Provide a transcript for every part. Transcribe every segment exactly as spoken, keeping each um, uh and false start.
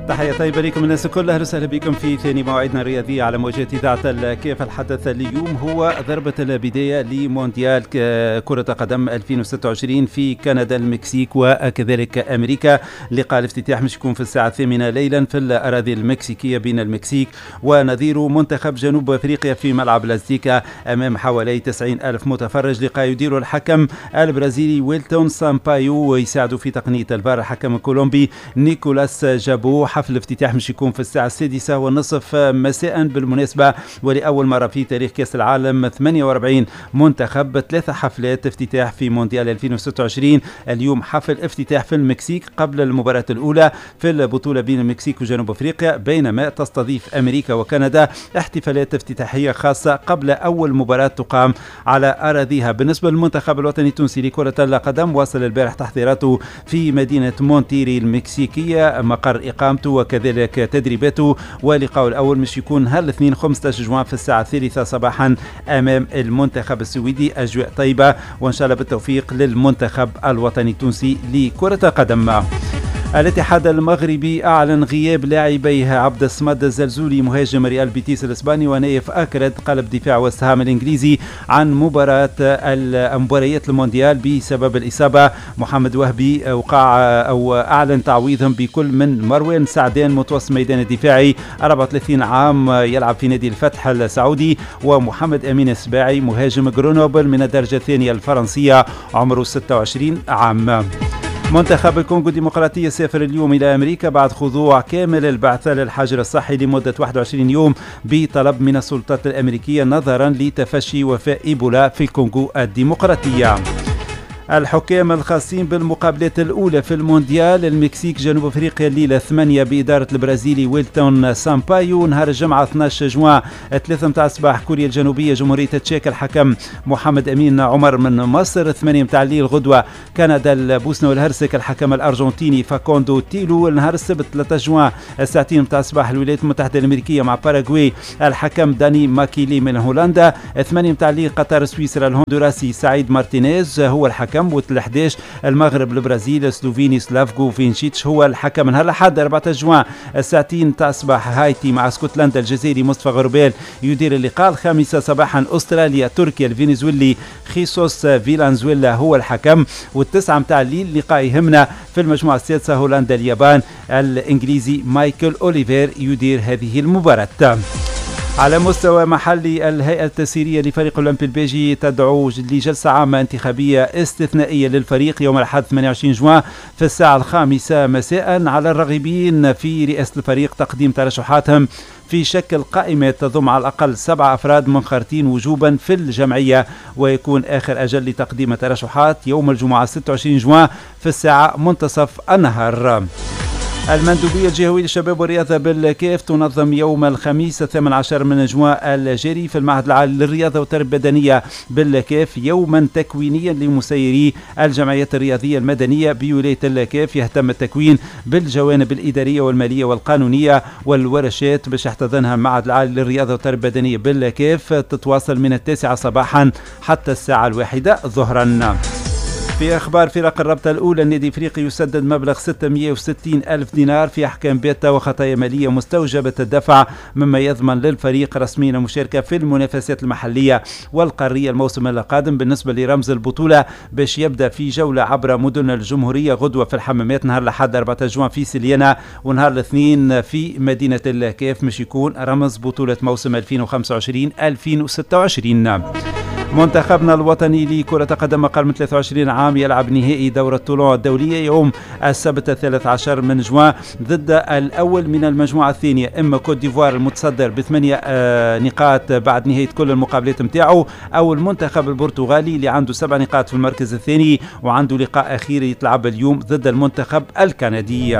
تحية طيبة لكم الناس الكل، أهلا وسهلا بكم في ثاني مواعيدنا الرياضية على موجات إذاعة الكاف. الحدث اليوم هو ضربة البداية لمونديال كرة قدم ألفين وستة وعشرين في كندا، المكسيك وكذلك أمريكا. لقاء الافتتاح مش يكون في الساعة الثامنة ليلا في الأراضي المكسيكية بين المكسيك ونظيره منتخب جنوب أفريقيا في ملعب لاستيكا أمام حوالي تسعين ألف متفرج. لقاء يديره الحكم البرازيلي ويلتون سامبايو ويساعده في تقنية الفار الحكم الكولومبي نيكولاس جابو. حفل الافتتاح مش يكون في الساعة السادسة والنصف مساء. بالمناسبة ولأول مرة في تاريخ كأس العالم ثمانية وأربعين منتخب، ثلاثة حفلات افتتاح في مونديال ألفين وستة وعشرين. اليوم حفل افتتاح في المكسيك قبل المباراة الأولى في البطولة بين المكسيك وجنوب أفريقيا، بينما تستضيف أمريكا وكندا احتفالات افتتاحية خاصة قبل أول مباراة تقام على أراضيها. بالنسبة للمنتخب الوطني التونسي لكرة القدم، واصل البارح تحضيراته في مدينة مونتيري المكسيكية مقر إقامته وكذلك تدريباته، ولقاء الأول مش يكون نهار الاثنين خمسة عشر جوان في الساعة الثالثة صباحا أمام المنتخب السويدي. أجواء طيبة وإن شاء الله بالتوفيق للمنتخب الوطني التونسي لكرة القدم. الاتحاد المغربي أعلن غياب لاعبيه عبد الصمد الزلزولي مهاجم ريال بيتيس الإسباني ونايف أكرد قلب دفاع وست هام الإنجليزي عن مباراة مباريات المونديال بسبب الإصابة. محمد وهبي وقع أو أعلن تعويضهم بكل من مروان سعدان متوسط ميدان الدفاعي أربعة وثلاثين عام يلعب في نادي الفتح السعودي، ومحمد أمين السباعي مهاجم غرونوبل من الدرجة الثانية الفرنسية عمره ستة وعشرين عام. منتخب الكونغو الديمقراطية سافر اليوم إلى أمريكا بعد خضوع كامل البعثة للحجر الصحي لمدة واحد وعشرين يوم بطلب من السلطات الأمريكية نظرا لتفشي وفاء إيبولا في الكونغو الديمقراطية. الحكام الخاصين بالمقابلات الأولى في المونديال، المكسيك جنوب أفريقيا الليلة ثمانية بإدارة البرازيلي ويلتون سامبايو. نهار الجمعة اثنا عشر جوان ثلاثة متاع الصباح كوريا الجنوبية جمهورية تشيك الحكم محمد أمين عمر من مصر. ثمانية متاع الليل غدوة كندا البوسنة والهرسك الحكم الأرجنتيني فاكوندو تيلو. نهار السبت ثلاثة جوان الساعتين متاع الصباح الولايات المتحدة الأمريكية مع باراغواي الحكم داني ماكيلي من هولندا. ثمانية متاع الليل قطر سويسرا الهندوراسي سعيد مارتينيز هو الحكم. والأحداش المغرب البرازيل سلوفيني سلافكو فينشيتش هو الحكم. نهار الأحد أربعة عشر جوان الساعتين تاع الصباح هايتي مع اسكتلندا الجزائري مصطفى غربال يدير اللقاء. الخامسة صباحا أستراليا تركيا الفنزويلي خيسوس فيلانزويلا هو الحكم. والتسعة متاع الليل لقاء يهمنا في المجموعة السادسة هولندا اليابان الإنجليزي مايكل أوليفير يدير هذه المباراة. على مستوى محلي، الهيئة التسييرية لفريق أولمبي الباجي تدعو لجلسة عامة انتخابية استثنائية للفريق يوم الأحد ثمانية وعشرين جوان في الساعة الخامسة مساء على الراغبين في رئاسة الفريق تقديم ترشحاتهم في شكل قائمة تضم على الأقل سبعة أفراد منخرطين وجوبا في الجمعية، ويكون آخر أجل لتقديم الترشحات يوم الجمعة ستة وعشرين جوان في الساعة منتصف النهار. المندوبية الجهوية للشباب والرياضة بالكاف تنظم يوم الخميس الثامن عشر من جوان الجاري في المعهد العالي للرياضة والتربية البدنية بالكاف يوما تكوينيا لمسيري الجمعيات الرياضية المدنية بولاية الكاف. يهتم التكوين بالجوانب الإدارية والمالية والقانونية والورشات باش يحتضنها المعهد العالي للرياضة والتربية البدنية بالكاف، تتواصل من التاسعة صباحا حتى الساعة الواحدة ظهرا. في أخبار فرق الرابطة الأولى، النادي الإفريقي يسدد مبلغ ستمئة وستين ألف دينار في أحكام بيتا وخطايا مالية مستوجبة الدفع، مما يضمن للفريق رسميا المشاركة في المنافسات المحلية والقارية الموسم القادم. بالنسبة لرمز البطولة باش يبدأ في جولة عبر مدن الجمهورية غدوة في الحمامات نهار الأحد أربعة عشر جوان في سليانة، ونهار الاثنين في مدينة الكاف مش يكون رمز بطولة موسم ألفين وخمسة وعشرين ألفين وستة وعشرين. منتخبنا الوطني لكرة قدم أقل من ثلاثة وعشرين عام يلعب نهائي دورة طولون الدولية يوم السبت الثالث عشر من جوان ضد الأول من المجموعة الثانية إما كوت ديفوار المتصدر بثمانية آه نقاط بعد نهاية كل المقابلات متاعه، أو المنتخب البرتغالي اللي عنده سبع نقاط في المركز الثاني وعنده لقاء أخير يتلعب اليوم ضد المنتخب الكندي.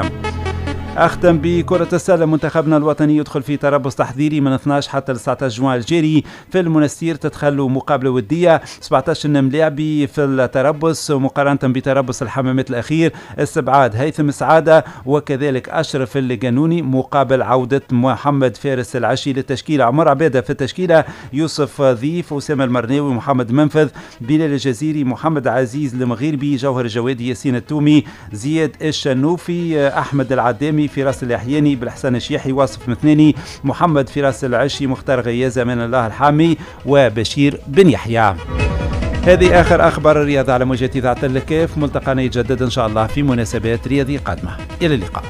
أختم بكرة السلة، منتخبنا الوطني يدخل في تربص تحضيري من اثنا عشر حتى تسعة عشر جوان الجاري في المنستير، تتخلوا مقابلة ودية سبعة عشر ملاعبي في التربص مقارنة بتربص الحمامات الأخير، استبعاد هيثم سعادة وكذلك أشرف القانوني مقابل عودة محمد فارس العشي للتشكيلة، عمر عبادة في التشكيلة، يوسف ضيف، أسامة المرناوي، محمد منفذ، بلال الجزيري، محمد عزيز المغيربي، جوهر الجوادي، ياسين التومي، زياد الشنوفي، أحمد العدامي الحامي، فراس اليحياني، بالحسن الشيحي، واصف مثناني، محمد فراس العشي، مختار غيازة، من الله الحامي، وبشير بن يحيى. هذه آخر أخبار الرياضة على موجات إذاعة الكاف. ملتقانا يتجدد إن شاء الله في مناسبات رياضية قادمة. إلى اللقاء.